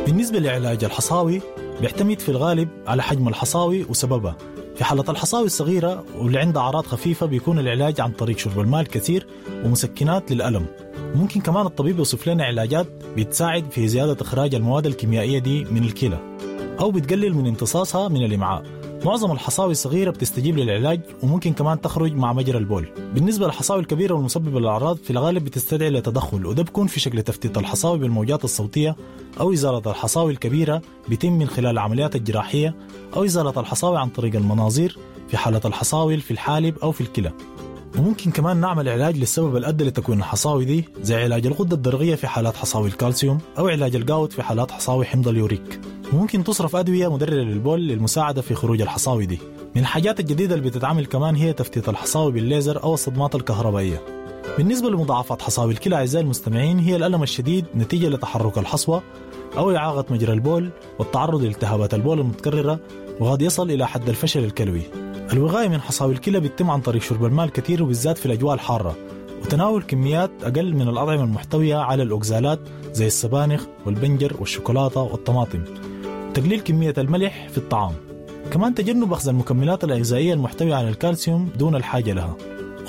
بالنسبة لعلاج الحصاوي بيعتمد في الغالب على حجم الحصاوي وسببها. في حالة الحصاوي الصغيرة واللي عندها أعراض خفيفة بيكون العلاج عن طريق شرب الماء الكثير ومسكنات للألم. ممكن كمان الطبيب يوصف لنا علاجات بتساعد في زيادة إخراج المواد الكيميائية دي من الكلى أو بتقلل من امتصاصها من الإمعاء. معظم الحصاوي الصغيرة بتستجيب للعلاج وممكن كمان تخرج مع مجرى البول. بالنسبة للحصاوي الكبيرة والمسببة للأعراض في الغالب بتستدعي لتدخل، وده بيكون في شكل تفتيت الحصاوي بالموجات الصوتية أو إزالة الحصاوي الكبيرة بيتم من خلال العمليات الجراحية، أو إزالة الحصاوي عن طريق المناظير في حالة الحصاوي في الحالب أو في الكلى. وممكن كمان نعمل علاج للسبب الأدى لتكوين الحصاوي دي، زي علاج الغدة الدرقية في حالات حصاوي الكالسيوم أو علاج الجاوت في حالات حصاوي حمض اليوريك. وممكن تصرف أدوية مدررة للبول للمساعدة في خروج الحصاوي دي. من الحاجات الجديدة اللي بتتعمل كمان هي تفتيت الحصاوي بالليزر أو الصدمات الكهربائية. بالنسبة لمضاعفات حصاوي الكلى أعزائي المستمعين هي الألم الشديد نتيجة لتحرك الحصوة أو إعاقة مجرى البول والتعرض لالتهابات البول المتكررة، وقد يصل إلى حد الفشل الكلوي. الوقاية من حصاوي الكلى بتتم عن طريق شرب الماء الكثير وبالذات في الأجواء الحارة، وتناول كميات أقل من الأطعمة المحتوية على الأوكزالات زي السبانخ والبنجر والشوكولاتة والطماطم، وتقليل كمية الملح في الطعام. كمان تجنب أخذ المكملات الغذائية المحتوية على الكالسيوم دون الحاجة لها.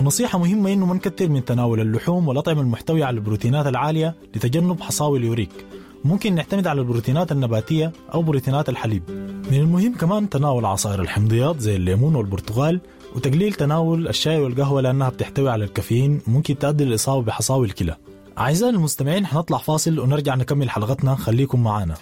ونصيحة مهمة إنه ما نكتر من تناول اللحوم والأطعمة المحتوية على البروتينات العالية لتجنب حصاوي اليوريك. ممكن نعتمد على البروتينات النباتية أو بروتينات الحليب. من المهم كمان تناول عصائر الحمضيات زي الليمون والبرتقال، وتقليل تناول الشاي والقهوة لأنها بتحتوي على الكافيين وممكن تؤدي للإصابة بحصاوي الكلى. أعزائي المستمعين حنطلع فاصل ونرجع نكمل حلقتنا، خليكم معانا.